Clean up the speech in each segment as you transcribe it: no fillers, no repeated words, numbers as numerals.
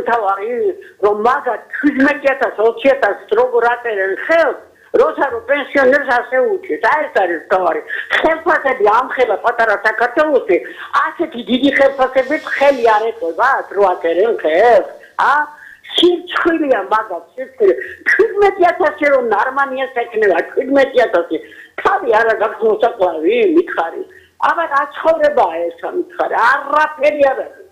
მთავარი რომ მაგათ 17,000-20,000 როგორ აწერენ ხელს როცა რომ პენსიონერს ასე უჩვენს აი ეს არის თავარი ხელფასები ამხელა პატარა საქართველოში ასეთი დიდი ხელფასებით ხელი არ ეტყობა რო აწერენ ხელს სირცხვილია მაგათ სირცხვილი 17,000 რომ ნარმანიას ეკნება 17,000 თავი არა გაქვს მოსაკლავი მითხარი აბა რა ცხოვრებაა ეს მითხარი არაფერი არ არის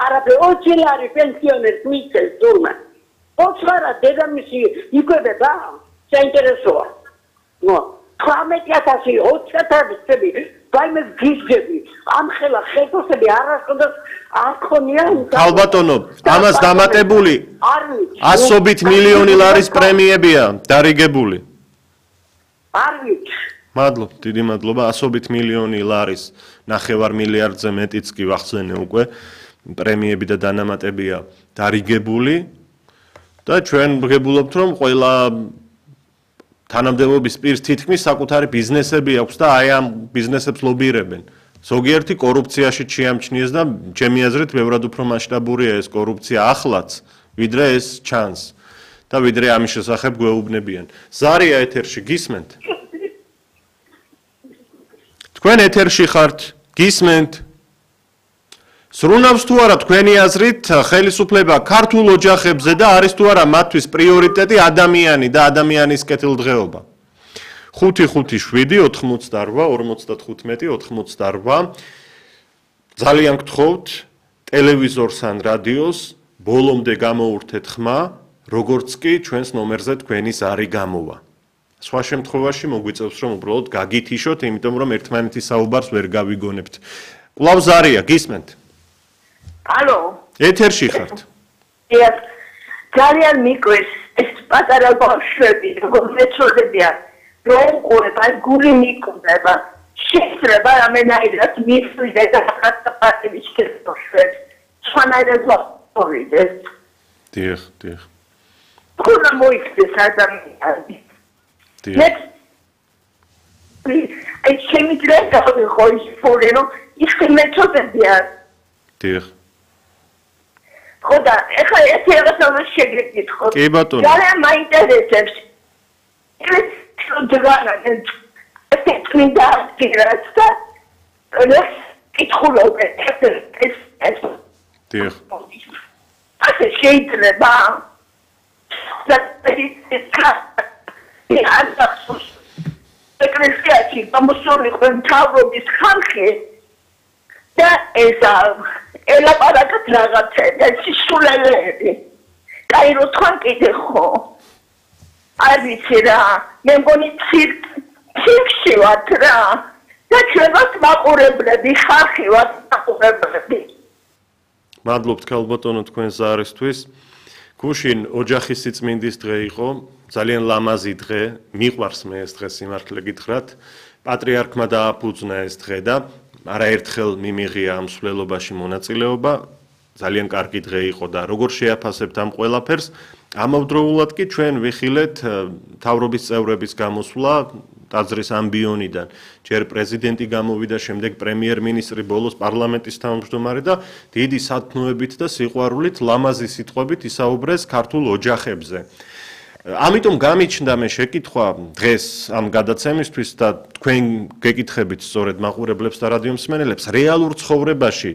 არაფერი ოჩილარი პენსიონერს მისცეს თურმე ოჩარა დედამისი იკვებება საინტერესოა ნო 18,000 20,000 ვაიმე გიჟები ამხელა ხელფასები არასოდეს არ ხონია ალბათონო ამას დამატებული ასობით მილიონი ლარის პრემიებია დარიგებული არ ვიცი მადლობ დიდი მადლობა ასობით მილიონი ლარის 9 მილიარდზე მეტიც კი ვახსენე უკვე პრემიები და დანამატებია დარიგებული და ჩვენ ვღებულობთ რომ ყველა თანამდებობის პირს თითქმის საკუთარი ბიზნესები აქვს და აი ამ ბიზნესებს ლობირებენ. ზოგიერთი კორუფციაში შეამჩნიეს და ჩემი აზრით ბევრად უფრო მასშტაბურია ეს კორუფცია ახლაც, ვიდრე ეს ჩანს და ვიდრე ამის შესახებ გვეუბნებიან. ზარია ეთერში გისმენთ? თქვენ ეთერში ხართ? გისმენთ? სრუნავს თუ არა თქვენი აზრით ხელისუფლება ქართულ ოჯახებზე და არის თუ არა მათთვის პრიორიტეტი ადამიანი და ადამიანის კეთილდღეობა. 5-5-7-88-55 ძალიან გთხოვთ ტელევიზორს ან რადიოს ბოლომდე გამოურთეთ ხმა, როგორც კი ჩვენს ნომერზე თქვენი ზარი გამოვა. სხვა შემთხვევაში მოგვიწევს რომ უბრალოდ გაგითიშოთ, იმიტომ რომ ერთმანეთის საუბარს ვერ გავიგონებთ. კვლავ ზარია, გისმენთ? ალო ეთერში ხართ? ძალიან მიკვეს ეს პატარა ბავშვები როგორ მეცოდებიან რომ უყურებ აი გული მიკვდება შეიძლება რამენაირად მისვიდე და ხატაპატების კეთბავშვებს სხვანაირად ვახორიდეს დიახ ხუნა მოიქცეს ადამიანი დიახ აი ჩემი დროა ხო ის ფური რომ ის მეცოდებიან დიახ ხოდა ეხლა ეს რაღაცა შეგეკით ხო კი ბატონო ძალიან მაინტერესებს ეს დროა ეს წმინდა ფიგურაც და ეს კითხულობ ეს დიახ ასე შეიძლება და ეს ეკლესიაში გამოსული მთავრობის ხალხი და ეს ელაპარაკეთ რაღაცა სისულელეები კაირო თქვენ კიდე ხო არ ვიცი რა მე მგონი ცირკში ვართ რა და ჩვენ ვართ მაყურებლები ხალხი ვართ მაყურებლები მადლობთ ქალბატონო თქვენ ზარისთვის გუშინ ოჯახის სიწმინდის დღე იყო ძალიან ლამაზი დღე მიყვარს მე ეს დღე სიმართლე გითხრათ პატრიარქმა დააფუძნა ეს დღე და არაერთხელ მიმიღია ამ მსვლელობაში მონაწილეობა ძალიან კარგი დღე იყო და როგორ შეაფასებთ ამ ყველაფერს ამავდროულად კი ჩვენ ვიხილეთ მთავრობის წევრების გამოსვლა ტაძრის ამბიონიდან ჯერ პრეზიდენტი გამოვიდა შემდეგ პრემიერ-მინისტრი ბოლოს პარლამენტის თავმჯდომარე და დიდი სათნოებით და სიყვარულით ლამაზი სიტყვებით ისაუბრეს ქართულ ოჯახებზე ამიტომ გამიჩნდა მე შეკითხვა დღეს ამ გადაცემისთვის და თქვენ გეკითხებით სწორედ მაყურებლებს და რადიო მსმენელებს რეალურ ცხოვრებაში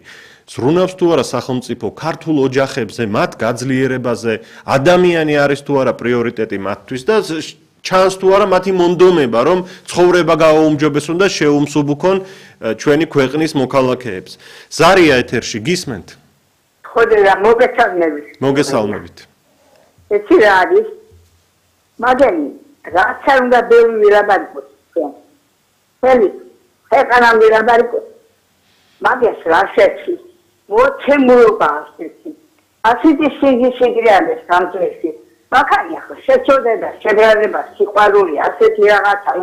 ზრუნავს თუ არა სახელმწიფო ქართულ ოჯახებზე მათ გაძლიერებაზე ადამიანი არის თუ არა პრიორიტეტი მათთვის და ჩანს თუ არა მათი მონდომება რომ ცხოვრება გააუმჯობესონ და შეუმსუბუქონ ჩვენი ქვეყნის მოქალაქეებს ზარია ეთერში გისმენთ ხოდა მოგესალმებით ეს რა არის მაგენი რაც არ უნდა ბევრი ვირაბარიკოს ხელი ეხანამ ვირაბარიკოს მაგას რა შეცი მოჩემულობა ასეთი სიგრი არის სამწესი მაგალია ხო შეწოდება შებრალება სიყვარული ასეთი რაღაცა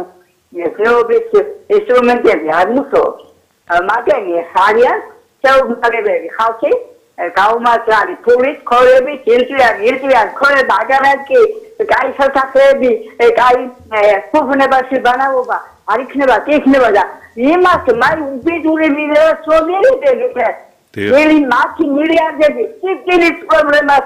მეცნიერების ინსტრუმენტები არ მუშაობს მაგენი ხარიან შეუძლებელი ხალხი გაუმართლარი ფულით ქორებით ერთიან ქორება აგარაკი კაი სასახლეები კაი ფუფუნებაში ბანაობა არ იქნება კი იქნება და იმას მაი უბედური ვიდეო სწორედ ველი მათი მილიარდები სიკვდილის პრობლემას